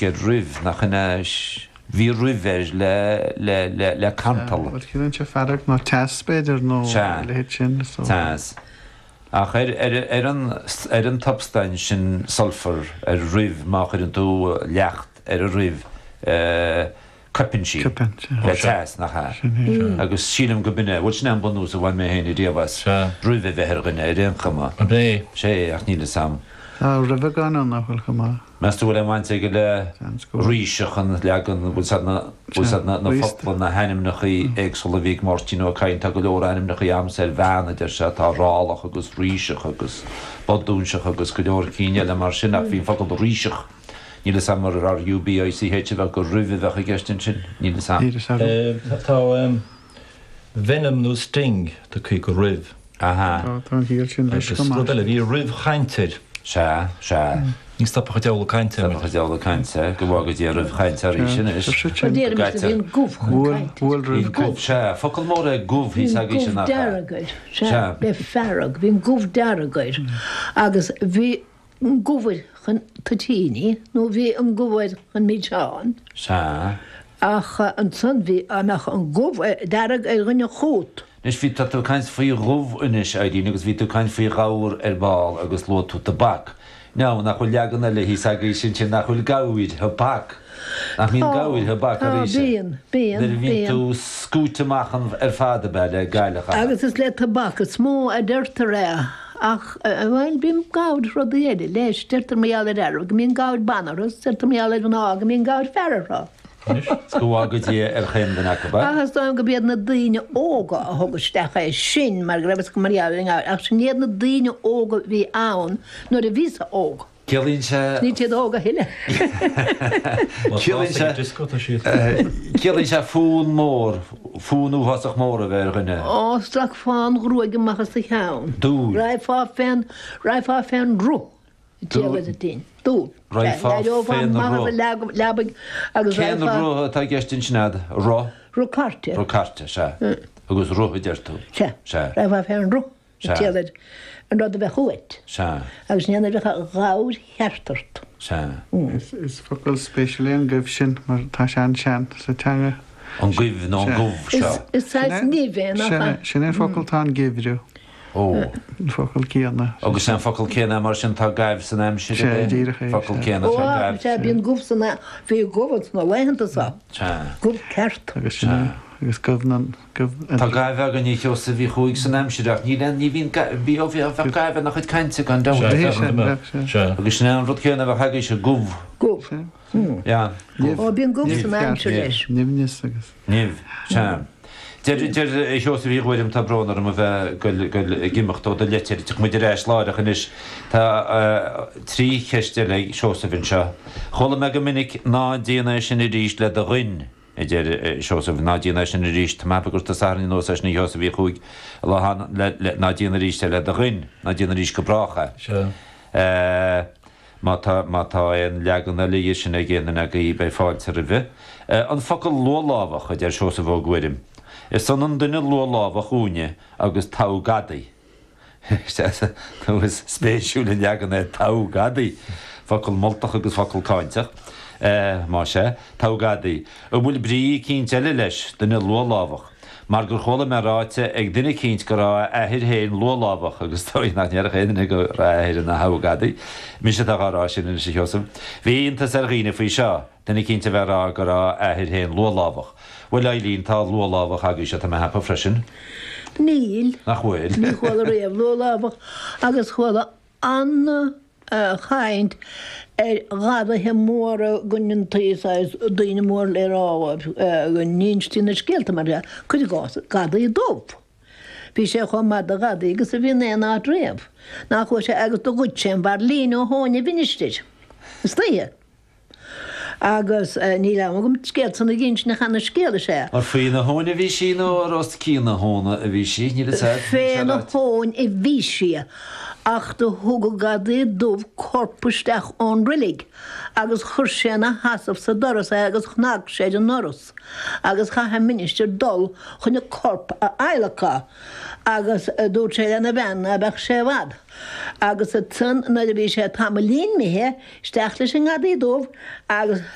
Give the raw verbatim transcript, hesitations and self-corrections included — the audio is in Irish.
Ar ruibh, nach in ea? Bhí ruibh air le, le, le, le cantal. Bhuel, ciallaíonn sé fearg nó teas, b'fhéidir, nó Sea. a leithéid sin, so. Teas. Ach ar, ar, ar an, ar an tsubstaint sin sulfur, ar ruibh, má chuireann tú leacht ar an ruibh, eh, coipeann sí. Coipeann, sea. Le teas, nach ea? Sin é, sea. Agus sílim go b'in é, bhuel, sin é an bunús a bhain mé féin ariamh as Sea. ruibh a bheith ar dhuine, ar aon chuma. Ab é? Sea, ach níl fhios a'm. Tá ruibheagán ann nach bhfuil chomh maith. Meas tú bhfuil aon bhaint aige le Seans go bhfuil. ríseach an leagan, bhfuil siad na, bhfuil siad na, na Ríosta. focla, na hainmneachaí éagsúla a bhí ag Máirtín Ó Cadhain, tá go leor ainmneachaí a'msa ar bhean, a deir sé, tá rálach agus ríseach agus bodúnseach agus go leor cinn eile mar sin ach bhí an focal ríseach, níl fhios a'm ar R U B I C H a bheadh gur ruibh a bheadh i gceist ansin, níl fhios a'm. Níl fhios agam. Tá venom nó sting tugtha go ruibh. Aha. Tá, tá an chiall sin leis Agus chomh maith. rud eile, bhí ruibh chainte air. Sea, sea. Ní stopfadh an diabhal ag caint air. Stopfadh an diabhal ag caint air, go bhfága Dia ruibh chainte arís anois. Sin. Deirimse bhí an gubh chun Bhuail, cainte. bhuail Bhí ruibh gubh, sea, focal mór é gubh thíos Bhí agaibhse gubh nach ea? dearg air, sea, Sea. le fearg, bhí an gubh dearg air. Agus bhí an gubh air chun toitíní, nó bhí an gubh air chun milseán. Sea. Ach ansan bhí, dá mbeadh an gubh dearg ar dhuine chút. Anois bhí, tá tú ag caint faoi ghubh anois, Eileen, agus bhí tú ag caint faoi ghabhar ar ball agus luaigh tú tobac. Now, nach bhfuil leagan eile thíos agaibhse ansin, nach bhfuil gabhair thobac? Nach mbíonn Tá, gabhair thobac tá, arís? bíonn, bíonn, Nuair a bhíonn bíonn. tú scúite amach an, ar fad ab ea le gailleach, aha. Agus is le tobac is mó a deirtear é, ach, bhuel, bíonn gabhair rudaí eile leis, deirtear mar gheall ar fhearaibh go mbíonn gabhair ban orthu, is deirtear mar gheall ar mhná go mbíonn gabhair fear orthu. Is go bhfága Dia ar chaon duine acu, a? Ach is dóigh liom go b'iad na daoine óga a thug isteach é sin mar go raibh fhios acu mar gheall ar an ngabhar, ach sin iad na daoine óga a bhí ann nuair a bhíos-sa óg. Ciallaíonn sé. Níl siad óg a thuilleadh. Ciallaíonn sé. Ciallaíonn sé fonn mór, fonn uafásach mór a bheith ar dhuine. Ó, sracfá an ghruaig amach as do cheann. Dúil. Raghfá fén, raghfá fén roth. Dúil. Raghfá fén roth. Leabaidh agus Cén raghfá. roth atá i gceist ansin a'd? Roth? Roth cairte. Roth cairte, sea. Agus roth a deir tú. Sea. Sea. Raghfá fén roth. Sea. Téad an rud a bheadh uait. Sea. Agus ní bheadh gabhair cheart ort. Sea. Is focal spéisiúil é an goimh sin mar tá sé an-sean sa teanga. An goimh nó an gubh seo. Is saghas nimh é, nach ea? Sin é an focal atá in geimhreadh. Ó. An focal céanna. Agus sé an focal céanna mar sin tá gaibh san aimsir, Sea, ab é? díreach é, Focal sea. céanna Ó, tá gaibh. sea, bíonn gubh san, bhí gubh ins na laethanta so. Sea. Gubh ceart. Agus sin é, agus gubh na, gubh. Tá gaibh againn a Sheosaimh Uí Chuaig san aimsir ach níl aon, ní bhíonn ga, bhí, ó bhí, bheadh gaibh ina chuid cainte gan dabht. Sea, Bhí sé, bheadh, bheadh, sea. sea. Agus sin é an rud céanna a bheadh agaibhse, gubh. Gubh. Sea. Yeah. Nimh. Ó, bíonn gubh Nimh san ceart. aimsir leis. Nimhneas agus. Nimh, sea. Deir, deir Seosamh Uí Ghuairim, tá brón orm a bheith goil, goil ag imeacht ó do leitir, tiocfaidh muid ar ais láithreach anois. Tá trí cheist eile ag Seosamh anseo. Chuala mé go minic ná déan é sin arís le do ghoin, a deir Seosamh, ná déan é sin arís, tá mé ag ceapadh gur tusa a tharraing anuas é sin a Sheosaimh Uí Chuaig, lá le, le, ná déan arís é le do ghoin, ná déan arís go brách é. Sea. Má tá, má tá aon leagan eile dhe sin ag aon duine agaibh, beidh fáilte roimhe. An focal luathlámhach, a deir Seosamh Ó Guairim. Is ionann duine luathlámhach dhúinne agus togha gadaí. Is spéisiúil an leagan é togha gadaí. Focal moltach agus focal cáinteach, más ea, togha gadaí. An bhfuil brí eicínt eile leis, duine luathlámhach? Mar gur chuala mé ráite ag duine eicínt go raibh a athair féin luathlámhach, agus is dóigh nach ndéarfadh aon duine go raibh a athair ina thogha gadaí. Mise atá dhá rá sin anois, a Sheosaimh. Bhí iontas ar dhaoine faoi seo, duine eicínt a bheith ag rá go raibh a athair féin luathlámhach. Bhuel, Eileen, tá luathlámhach agaibhse, tá mé a cheapadh freisin. Níl. Nach bhfuil? Ní chuala riamh luathlámhach agus chuala an. chaint ar ghadaithe móra go ndéantaí saghas daoine mór le rá go n-instí na scéalta mar dhea, cuir i gcás, gadaí dubh. Bhí sé chomh maith do ghadaí agus a bhí in aon áit riamh. Nach chuaigh sé agus do ghoid sé an veidhlín ó thóin an mhinistir istoíche. Agus níl am agam scéal san a dh'inse ach ana scéal is ea. Ar faoina thóin a bhí sí nó ar os cionn na tóna a bhí sí? Níl fhios a'd, níl sé Féna ráite. thóin a bhí sí Ach do thug an gadaí dubh corp isteach ón reilig agus chuir sé ina sheasamh sa doras é agus chnag sé ar an ndoras agus chaith an ministir dul chun an corp a adhlacadh agus dúirt sé lena bhean ná beadh sé i bhfad. Agus ansan nuair a bhí sé tamaillín imithe isteach leis an ngadaí dubh agus